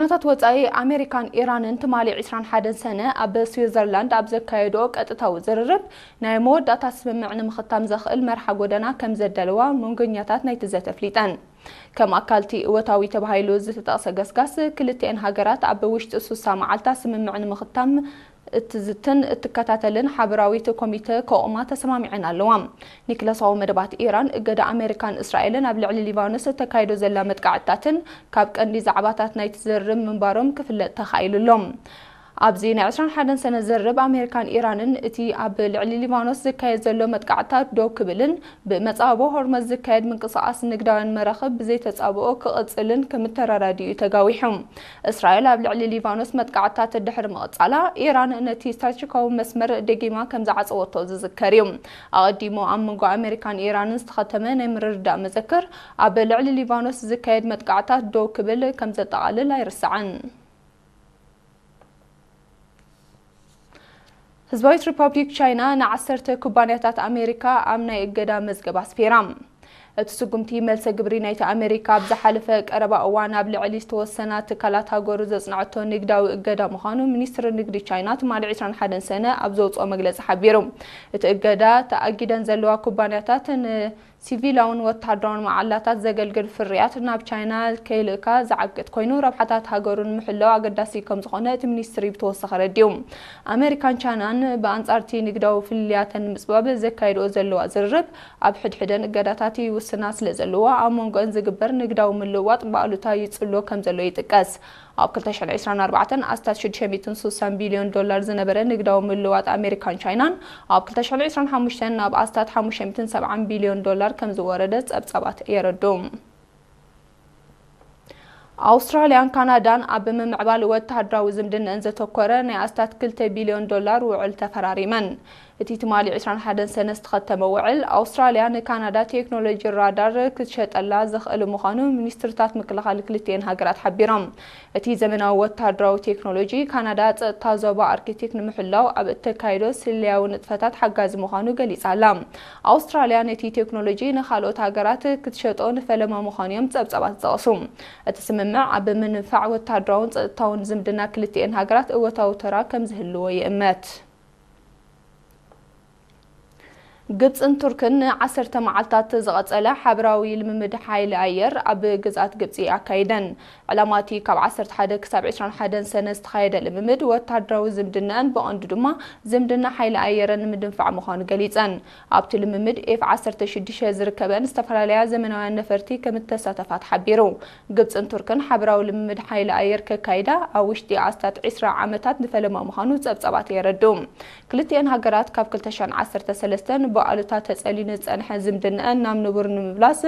ዜናታት ወጻኢ። ኣሜሪካን ኢራንን ትማሊ ዕስራን ሓደን ሰነ ኣብ ስዊዘርላንድ ኣብ ዘካየድኦ ቀጥታዊ ዝርርብ፣ ናይ መወዳእታ ስምምዕ ንምኽታም ዘኽእል መርሓ ጎደና ከም ዘዳለዋ መንጎኛታት ናይቲ ዘተ ኣፍሊጠን። ከም ኣካልቲ እወታዊ ተባሂሉ ዝተጠቕሰ ገስጋስ፣ ክልቲኤን ሃገራት ኣብ ውሽጢ ሱሳ መዓልታ ስምምዕ ንምኽታም እትዝትን እትከታተልን ሓበራዊት ኮሚተ ከቑማ ተሰማሚዐን ኣለዋ። ኒክለሳዊ መደባት ኢራን፣ እገዳ ኣሜሪካን እስራኤልን ኣብ ልዕሊ ሊባኖስ እተካይዶ ዘላ መጥቃዕትታትን ካብ ቀንዲ ዛዕባታት ናይቲ ዝርርብ ምንባሮም ክፍለጥ ተኻኢሉ ኣሎ። ኣብዚ ናይ ዕስራን ሓደን ሰነ ዝርርብ ኣሜሪካን ኢራንን እቲ ኣብ ልዕሊ ሊባኖስ ዝካየድ ዘሎ መጥቃዕትታት ደው ክብልን ብመጻብቦ ሆርመዝ ዝካየድ ምንቅስቓስ ንግዳውያን መራኽብ ብዘይተጻብኦ ክቕጽልን ከም እተረዳድኡ ተጋዊሑ። እስራኤል ኣብ ልዕሊ ሊባኖስ መጥቃዕትታት ድሕሪ ምቕጻላ፣ ኢራን ነቲ ስትራቴጂካዊ መስመር ደጊማ ከም ዝዓጸወቶ ዝዝከር እዩ። ኣቐዲሙ ኣብ መንጎ ኣሜሪካን ኢራንን ዝተኸተመ ናይ ምርድዳእ መዘክር፣ ኣብ ልዕሊ ሊባኖስ ዝካየድ መጥቃዕትታት ደው ክብል ከም ዘጠቓልል ኣይርሳዕን። ህዝባዊት ሪፓብሊክ ቻይና ንዓሰርተ ኩባንያታት ኣሜሪካ ኣብ ናይ እገዳ መዝገብ ኣስፊራ። እቲ ስጉምቲ፣ መልሰ ግብሪ ናይቲ ኣሜሪካ ኣብ ዝሓለፈ ቀረባ እዋን ኣብ ልዕሊ ዝተወሰና ትካላት ሃገሩ ዘጽንዐቶ ንግዳዊ እገዳ ምዃኑ ሚኒስትሪ ንግዲ ቻይና ትማሊ ዕስራን ሓደን ሰነ ኣብ ዘውጽኦ መግለጺ ሓቢሩ። እቲ እገዳ፣ ተኣጊደን ዘለዋ ኩባንያታት ን ሲቪላውን ወተሃደራውን መዓላታት ዘገልግል ፍርያት ናብ ቻይና ከይልእካ ዝዓግት ኮይኑ፣ ረብሓታት ሃገሩ ንምሕላው ኣገዳሲ ከም ዝኾነ እቲ ሚኒስትሪ ብተወሳኺ ኣረዲኡ። ኣሜሪካን ቻይናን ብኣንጻር እቲ ንግዳዊ ፍልልያተን ንምጽባብ ዘካይድኦ ዘለዋ ዝርርብ፣ ኣብ ሕድሕደን እገዳታት ይውስና ስለ ዘለዋ፣ ኣብ መንጎአን ዝግበር ንግዳዊ ምልውዋጥ ብኣሉታ ይጽሎ ከም ዘሎ ይጥቀስ። ኣብ ክልተ ሽሕን ዕስራን ኣርባዕተን ኣስታት ሽዱሽተ ሚእትን ስሳን ቢልዮን ዶላር ዝነበረ ንግዳዊ ምልውዋጥ ኣሜሪካን ቻይናን፣ ኣብ ክልተ ሽሕን ዕስራን ሓሙሽተን ናብ ኣስታት ሓሙሽተ ሚእትን ሰብዓን ቢልዮን ዶላር ከም ዝወረደ ጸብጻባት የረድኡ። ኣውስትራልያን ካናዳን ኣብ ምምዕባል ወተሃደራዊ ዝምድነአን ዘተኮረ ናይ ኣስታት ክልተ ቢልዮን ዶላር ውዕል ተፈራሪመን። እቲ ትማሊ ዕስራን ሓደን ሰነ ዝተኸተመ ውዕል፣ ኣውስትራልያ ንካናዳ ቴክኖሎጂ ራዳር ክትሸጠላ ዘኽእል ምዃኑ ሚኒስትርታት ምክልኻል ክልቲኤን ሃገራት ሓቢሮም። እቲ ዘመናዊ ወተሃደራዊ ቴክኖሎጂ፣ ካናዳ ጸጥታ ዞባ ኣርክቲክ ንምሕላው ኣብ እተካይዶ ስለያዊ ንጥፈታት ሓጋዚ ምዃኑ ገሊጻ ኣላ። ኣውስትራልያ ነቲ ቴክኖሎጂ ንኻልኦት ሃገራት ክትሸጦ ንፈለማ ምዃኑ እዮም ጸብጻባት ዝጠቕሱ። እቲ ስምምዕ ኣብ ምንፋዕ ወተሃደራውን ጸጥታውን ዝምድና ክልቲኤን ሃገራት እወታዊ ተራ ከም ዝህልዎ ይእመት። ግብጽን ቱርክን ንዓሰርተ መዓልታት ዝቐጸለ ሓበራዊ ልምምድ ሓይሊ ኣየር ኣብ ግዝኣት ግብጺ ኣካይደን። ዕላማ እቲ ካብ ዓሰርተ ሓደ ክሳብ ዕስራን ሓደን ሰነ ዝተኻየደ ልምምድ፣ ወተሃደራዊ ዝምድናኣን ብቐንዱ ድማ ዝምድና ሓይሊ ኣየረን ንምድንፋዕ ምዃኑ ገሊጸን። ኣብቲ ልምምድ ኤፍ ዓሰርተ ሽዱሽተ ዝርከበን ዝተፈላለያ ዘመናውያን ነፈርቲ ከም እተሳተፋ ተሓቢሩ። ግብጽን ቱርክን ሓበራዊ ልምምድ ሓይሊ ኣየር ከካይዳ ኣብ ውሽጢ ኣስታት ዕስራ ዓመታት ንፈለማ ምዃኑ ጸብጻባት የረድኡ። ክልቲኤን ሃገራት ካብ ክልተ ሽሕን ዓሰርተ ሰለስተን ብኣሉታ ተጸልዩ ንዝጸንሐ ዝምድናኣን ናብ ንቡር ንምምላስ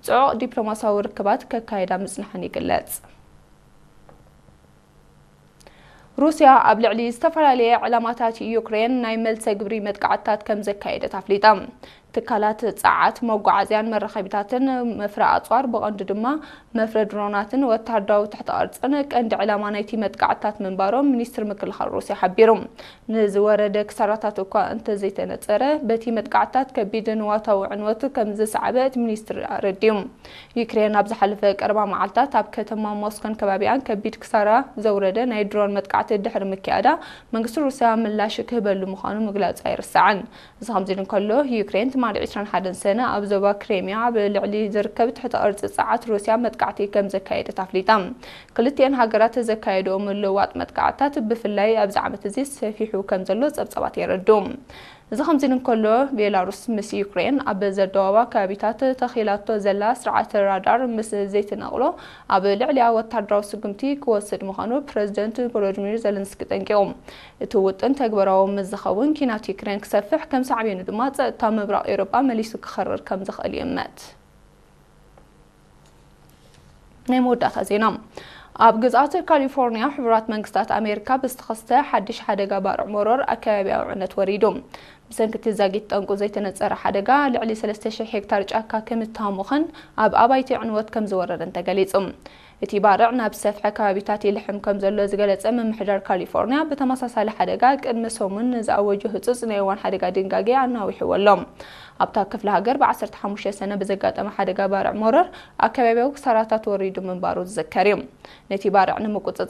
ጽዑቕ ዲፕሎማስያዊ ርክባት ከካይዳ ምጽንሐን ይግለጽ። ሩስያ ኣብ ልዕሊ ዝተፈላለየ ዕላማታት ዩክሬን ናይ መልሰ ግብሪ መጥቃዕትታት ከም ዘካየደት ኣፍሊጣ። ትካላት ጸዓት፣ መጓዓዝያን መራኸቢታትን፣ መፍረ ኣጽዋር፣ ብቐንዱ ድማ መፍረ ድሮናትን ወተሃደራዊ ትሕተ ቅርጽን ቀንዲ ዕላማ ናይቲ መጥቃዕትታት ምንባሮም ሚኒስትሪ ምክልኻል ሩስያ ሓቢሩ። ንዝወረደ ክሳራታት እኳ እንተዘይተነጸረ፣ በቲ መጥቃዕትታት ከቢድ ንዋታዊ ዕንወት ከም ዝሰዓበ እቲ ሚኒስትሪ ኣረዲኡ። ዩክሬን ኣብ ዝሓለፈ ቀረባ መዓልታት ኣብ ከተማ ሞስኮን ከባቢኣን ከቢድ ክሳራ ዘውረደ ናይ ድሮን መጥቃዕቲ ድሕሪ ምክያዳ፣ መንግስቲ ሩስያ ምላሽ ክህበሉ ምዃኑ ምግላጹ ኣይርሳዕን። እዚ ከምዚ ኢሉ እንከሎ፣ ዩክሬን ትማሊ ዕስራን ሓደን ሰነ ኣብ ዞባ ክሬሚያ ኣብ ልዕሊ ዝርከብ ትሕተ ቅርጺ ጸዓት ሩስያ መጥቃዕቲ ከም ዘካየደት ኣፍሊጣ። ክልቲኤን ሃገራት ዘካየድኦ ምልውዋጥ መጥቃዕትታት፣ ብፍላይ ኣብዚ ዓመት እዚ፣ ሰፊሑ ከም ዘሎ ጸብጻባት የረድኡ። እዚ ከምዚ ኢሉ እንከሎ፣ ቤላሩስ ምስ ዩክሬን ኣብ ዘደዋውባ ከባቢታት ተኺላቶ ዘላ ስርዓተ ራዳር ምስ ዘይትነቕሎ፣ ኣብ ልዕሊኣ ወታደራዊ ስጉምቲ ክወስድ ምዃኑ ፕረዚደንት ቮሎዲሚር ዘለንስኪ ጠንቂቑ። እቲ ውጥን ተግባራዊ ምስ ዝኸውን፣ ኲናት ዩክሬን ክሰፍሕ፣ ከም ሳዕቤኑ ድማ ጸጥታ ምብራቕ ኤውሮጳ መሊሱ ክኸርር ከም ዝኽእል ይእመት። ናይ መወዳእታ ዜና። ኣብ ግዝኣት ካሊፎርኒያ፣ ሕቡራት መንግስታት ኣሜሪካ ብዝተኸስተ ሓድሽ ሓደጋ ባርዕ መሮር ኣከባቢያዊ ዕነት ወሪዱ። ብሰንኪ እቲ ዛጊት ጠንቁ ዘይተነጸረ ሓደጋ፣ ልዕሊ ሰለስተ ሽሕ ሄክታር ጫካ ከምዝተሃሙኸን ኣብ ኣባይቲ ዕንወት ከምዝወረደን ተገሊጹ። እቲ ባርዕ ናብ ዝሰፍሐ ከባቢታት ይልሕም ከም ዘሎ ዝገለጸ ምምሕዳር ካሊፎርኒያ፣ ብተመሳሳሊ ሓደጋ ቅድሚ ሰሙን ንዝኣወጆ ህጹጽ ናይ እዋን ሓደጋ ድንጋጌ ኣናዊሕዎ ኣሎ። ኣብታ ክፍለ ሃገር ብ15 ሰነ ብዘጋጠመ ሓደጋ ባርዕ ሞረር ኣከባቢያዊ ክሳራታት ወሪዱ ምንባሩ ዝዝከር እዩ። ነቲ ባርዕ ንምቁጽጻር